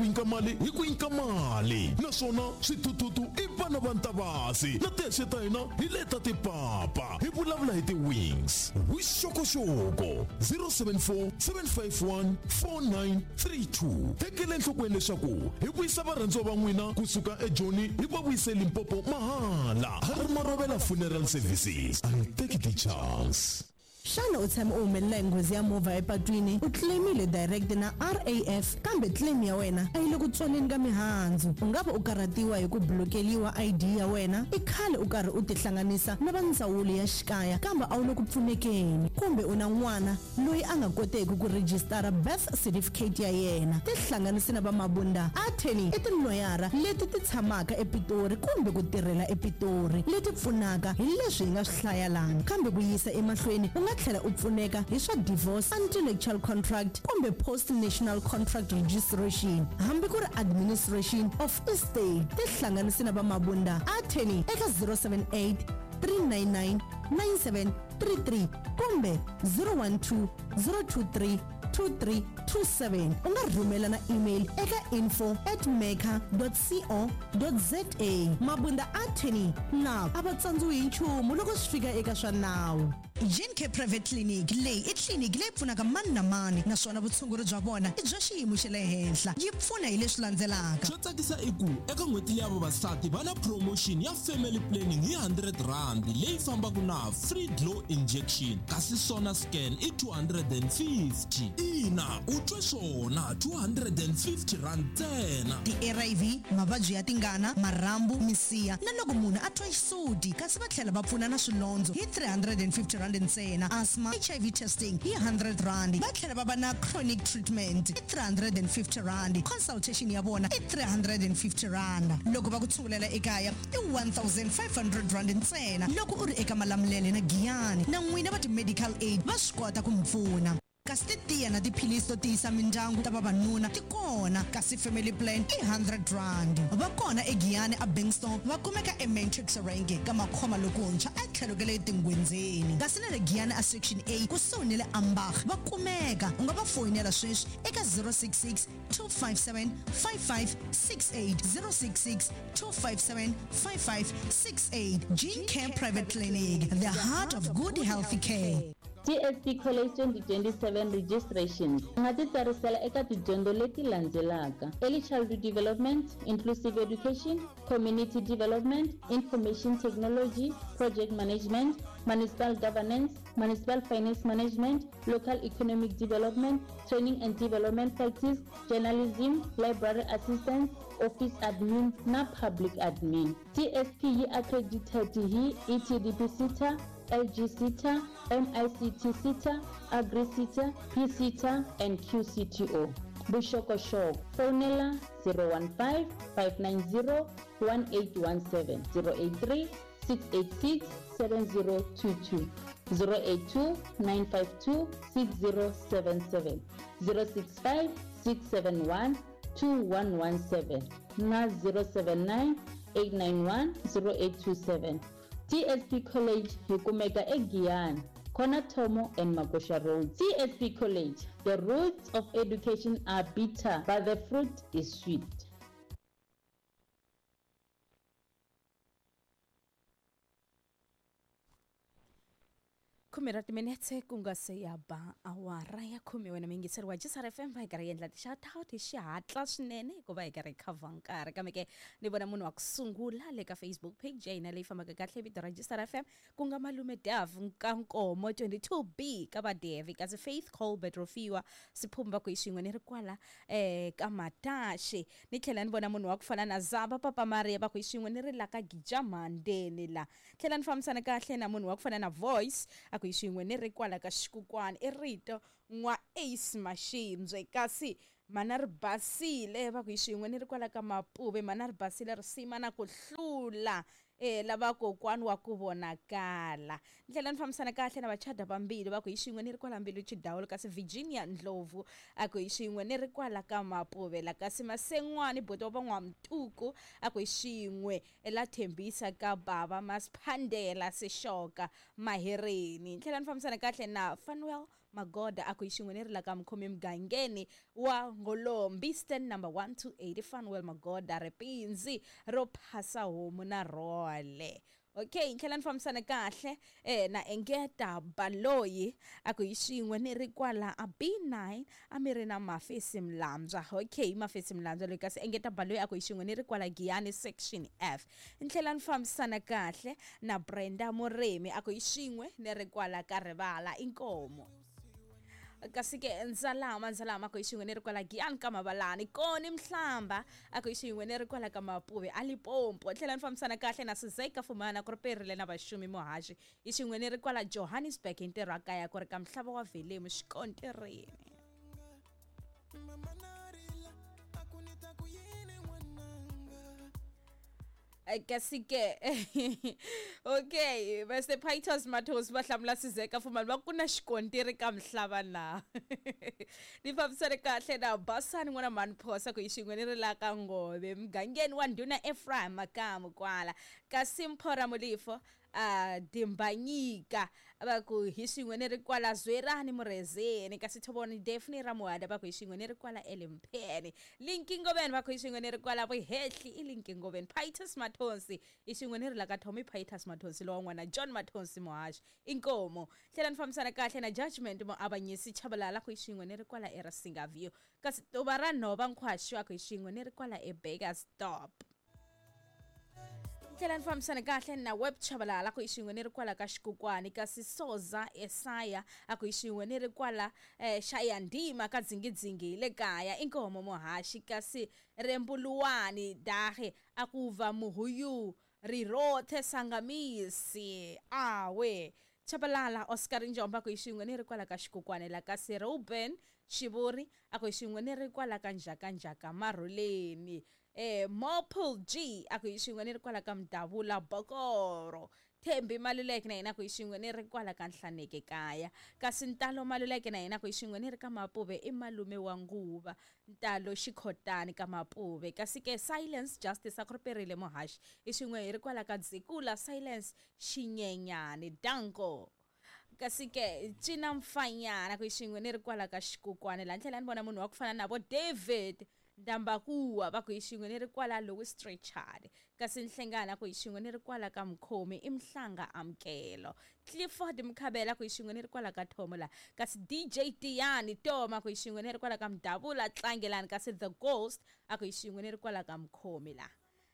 ku nyika mali hi ku nyika mali naswona swithuthuthu i vana va ntavasi na tihexe ta hina hi leta tipapa hi vulavula hi ti-wings vuxokoxoko 074 751 4932 tekela enhlokweni leswaku hi vuyisa varhandziwa va n'wina kusuka ejoni hi va vuyise limpopo mahala har marovela funeral services a ni teki ti-chance. Xana u tshame u humelela hi nghozi ya movha epatwini? U claim-ile direct na RAF kambe claim ya wena a yi le ku tswaleni ka mihandzu. U nga va u karhatiwa hi ku blokeliwa ID ya wena, i khale u karhi u tihlanganisa na va ndzawulo ya xikaya kambe a wu le ku pfunekeni, kumbe u na n'wana loyi a nga koteki ku rejistara birth certificate ya yena. Tihlanganisi na va Mabunda Attorney i tiloyara leti ti tshamaka ePitori kumbe ku tirhela ePitori leti pfunaka hi leswi hi nga swi hlaya lana. Kambe ku yisa emahlweni u nga tlhela u pfuneka hi swa divorce, antenuptial contract kumbe post national contract registration hambi ku ri administration of estate. Tihlanganisi na va Mabunda Attorney eka 078 399 9733 kumbe 012 023 2327. U nga rhumela na email eka info at mecca co za. Mabunda Attorney na a va tsandziwi hi nchumu loko swi fika eka swa nawu. Gencare Private Clinic, Leyi i tliliniki leyi pfunaka mani na mani naswona vutshunguri bya vona i bya xiyimo xa le henhla. Yi pfuna hi leswi landzelaka. Xo tsakisa i ku eka n'hweti leya vavasati va na promotion ya family planning hi R100 leyi fambaka na free glow injection kasi sona scan i 250. Ina, u twe swona, R250 ntsena. Ti-ARV, mavabyi ya tingana, marhambu, misiha na loko munhu a twa xisuti kasi va tlhela va pfuna na swilondzo hi R350 ntsena, asthma, HIV testing hi R100, va tlhela va va na chronic treatment i R350, consultation ya vona i R350, loko va ku tshungulela ekaya i R1500 ntsena loko u ri eka Malamulele na Giyani, na n'wina va ti-medical aid va swi kota ku mi pfuna. Kasi titiya na tiphilisi to tiyisa mindyangu ta vavanuna ti kona, kasi family plan i R100. Va kona eGiyani a Bengstone, va kumeka eMatrix Range ka Makhoma lokuntshwa etlhelo ka le Tingwendzeni. Kasi na le Giyani a Section A kusuhi ni le Ambach va kumeka. U nga va foyinela sweswi eka 066 257 5568, 066 257 5568. Gene Care Private Clinic, the heart of good healthy care. TSP College 2027 Registrations. U nga titsarisela eka tidyondzo leti landzelaka, Early Childhood Development, Inclusive Education, Community Development, Information Technology, Project Management, Municipal Governance, Municipal Finance Management, Local Economic Development, Training and Development Practice, Journalism, Library Assistance, Office Admin na Public Admin. TSP yi accredited hi ETDP SETA, LG SETA, MICT SETA, Agri SETA, PSETA and QCTO. Vuxokoxoko, fonela 015 590 1817, 083 686 7022, 082 952 6077, 065 671 2117 na 079 891 0827. TSP College yi kumeka eGiyani, Corner Thomo and Magosha Road. TSP College, the roots of education are bitter, but the fruit is sweet. Khume ra timinetse ku nga se ya ba awara ya khume wena muyingiseri wa Jisar FM va hi karhi hi endla ti-shout-out hi xihatla swinene hikuva hi karhi hi khavha nkarhi kambe ke ni vona munhu wa ku sungula le ka Facebook page ya hina leyi fambaka kahle vito ra Jisar FM ku nga malume Dav Nkankomo 22B ka Vadevi kasi Faith Colbert Rofiwa Siphumba ku hi swin'we ni ri kwala eh ka Mataxe ni tlhela ni vona munhu wa ku fana na Zaba Papa Maria va ku hi swin'we ni ri la ka Gija Mhandeni la tlhela ni fambisana kahle na munhu wa ku fana na Voice a ku hi swin'we ni ri kwala ka Xikukwani i rito n'wa Ace Mashimbye kasi mana ri basile va ku hi swin'we ni ri kwala ka Mapuve mana ri basile risima na ku hlula e lava kokwani wa ku vonakala ni tlhela ni fambisana kahle na vachada vambili va ku hi swin'we ni ri kwala Mbilu Chidawulo kasi Virginia Ndlovu a ku hi swin'we ni ri kwala ka Mapuve la kasi Masen'wani buti wa van'wamtuku a ku hi swin'we la thembisa ka bava Masphandela Sishoka Mahereni ni tlhela ni fambisana kahle na Fanuel Magoda a ku hi xin'we ni ri la ka mukhomi mugangeni wa Ngolombi stand number 128 Fanuel Magoda ripindzi ro phasa homu na rhole. Okay, tlhela ni fambisana kahle na Engeta Baloyi a ku hi xin'we ni ri kwala a B9 a mi ri na Mafesi Mlambywa. Okay, Mafesi Mlambywa loyi kasi Engeta Baloyi a ku hi xin'we ni ri kwala Giyani section F. Ni tlhela ni fambisana kahle na Brenda Murimi a ku hi xin'we ni ri kwala ka Rivala Inkomo. Kasi ke ndzalama ku hi xin'we ni ri kwala Giyani ka Mavalani koni Mhlamba a ku hi xin'we ni ri kwala ka Mapuve a Limpopo. Tlhela ni fambisana kahle na Sizeka Fumana ku ri perile na Vaxumi Muhaxi hi xin'we ni ri kwala Johannesburg hi ntirho wa kaya ku ri ka Mhlava wa Velemu xikontirini. Kasi ke okay, Mr. Pythos Matos va hlamula Sizeka Fumani va ku na xikontiri ka Mhlava na. Ni fambisane kahle na Basani n'wana mhani Phosa ku hi xin'we ni ri la ka Ngove mugangeni wa ndhuna Ephraim Makamu kwala. Kasi Mphora Mulifo Dimbanyika va ku hi xin'we ni ri kwala Zwerani Murezeni. Kasi Thoboni Daphne Ramuhada va ku hi xin'we ni ri kwala Elimpheni. Linki Ngoveni va ku hi xin'we ni ri kwala Vuhehli i Linki Ngoveni. Pythos Mathonsi hi xin'we ni ri la ka Tommy Pythos Mathonsi lowa n'wana John Mathonsi Muhaxi Inkomo. Tlhela ni fambisana kahle na Judgment Muavanyisi Chabalala ku hi xin'we ni ri kwala eRasinga View. Kasi Tuva ra Nhova Nkhwaxi va ku hi xin'we ni ri kwala eBurgersdorp. Tlhela ni fambisana kahle na Web Chabalala ku hi xin'we ni ri kwala ka Xikukwani. Kasi Soza Esaya a ku hi xin'we ni ri kwala Xayandima ka Dzingidzingi hi le kaya Inkomo Muhaxi. Kasi Rembuluwani Dahe a ku va Muhuyu Rirothe Sangamisi awe. Chabalala Oscar Njomba ku hi xin'we ni ri kwala ka Xikukwani la. Kasi Ruben Xivuri a ku hi xin'we ni ri kwala ka Njakanjaka Marhuleni. Mopul G a ku hi xin'we ni ri kwala ka Mdavula Bokoro. Thembi Maluleke na yena ku hi xin'we ni ri kwala ka Nhlaneke kaya. Kasi Ntalo Maluleke na yena ku hi xin'we ni ri ka Mapuve i malume wa nguva Ntalo Xikhotani ka Mapuve. Kasi ke Silence Justice a ku ri perile Muhaxi hi xin'we hi ri kwala ka Dzikula Silence Xinyenyani Danko. Kasi ke Cina Mfanyana ku hi xin'we ni ri kwala ka Xikukwani la. Tlhela ni vona munhu wa ku fana na vo David Ndambakuwa va ku hi xin'we ni ri kwala Louis Trichardt. Kasi Nhlengana ku hi xin'we ni ri kwala ka Mkhomi i Mhlanga Amkelo. Clifford Mkhabela ku hi xin'we ni ri kwala ka Thomo la. Kasi DJ Tiyani Toma ku hi xin'we ni ri kwala ka Mdavula Tlangelani. Kasi The Ghost a ku hi xin'we ni ri kwala ka Mkhomi la.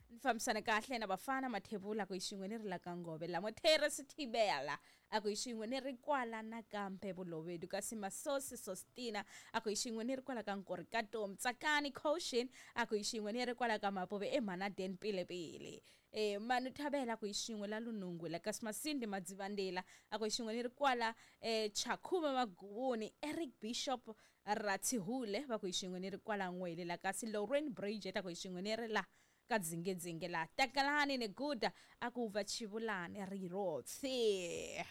Ni fambisana kahle na Bafana Mathebula ku hi xin'we ni ri la ka Ngove la. Mothere Sithibela a ku hi xin'we ni ri kwala nakambe Vulovedu. Kasi Masosi Sostina a ku hi xin'we ni ri kwala ka Nkorikatom. Tsakani Caution a ku hi xin'we ni ri kwala ka Mapuve eMhanaden Pilepile. Manu Thabela ku hi xin'we la Lunungu la. Kasi Masindi Madzivandela a ku hi xin'we ni ri kwala Chakhume Maguvuni. Eric Bishop Rathihule va ku hi xin'we ni ri kwala N'wele la. Kasi Lauren Bridget a ku hi xin'we ni ri la ka Dzingedzinge la. Takalani Neguda a ku va Chivulani Rirotse.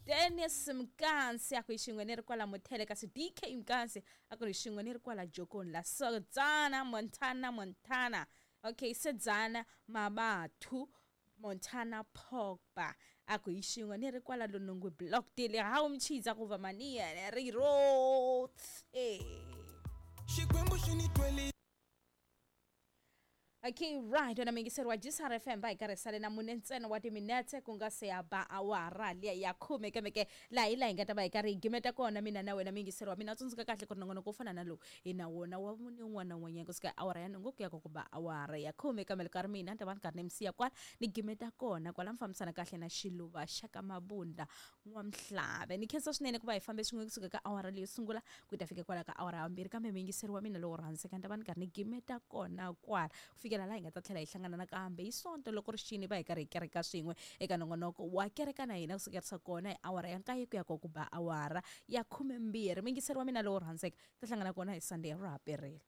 Dennis Mkansi a ku hi xin'we ni ri kwala Muthele. Kasi DK Mkansi a ku hi xin'we ni ri kwala Jokoni la. Sodzana Montana. Okay, Sedzana Mabathu Montana Pogba a ku hi xin'we ni ri kwala Lunungwi Block D le. Hawu Mchiza ku va Mania Rirotse. Xikwembu xi ni twele. Okay, right. Wena mingiseri wa GCR FM va hi karhi sale na mune ntsena wa timinetse ku nga se ya ba awara liya ya khume. Kambe ke laha hi laha hi nga ta va hi karhi hi gimeta kona mina na wena mingiseri wa mina. Tsundzuka kahle ku ri nongonoko wo fana na lowu hi na wona wa mune un'wana na un'wanyana kusuka awara ya nhungu ku ya ku ba awara ya khume. Kambe loko a ri mina ni ta va ni karhi ni mi siya kwala ni gimeta kona kwala. Mi fambisana kahle na Xiluva xa ka Mabunda N'wamhlave. Ni khensa swinene ku va hi fambe swin'we kusuka ka awara leyo sungula ku ta fika kwala ka awara ya vumbirhi. Kambe mingiseri wa mina lowo rhandzeka ni ta va ni karhi ni gimeta kona kwala fikela laha hi nga ta tlhela hi hlangana nakambe hi Sonto loko ri xini va hi karhi hi kereka swin'we eka nongonoko wa kereka na hina kusukerisa kona hi awara ya 9 ku ya ku ba awara ya 12. Mingiseri wa mina lowo rhandzeka ta hlangana kona hi Sunday ra ha perile.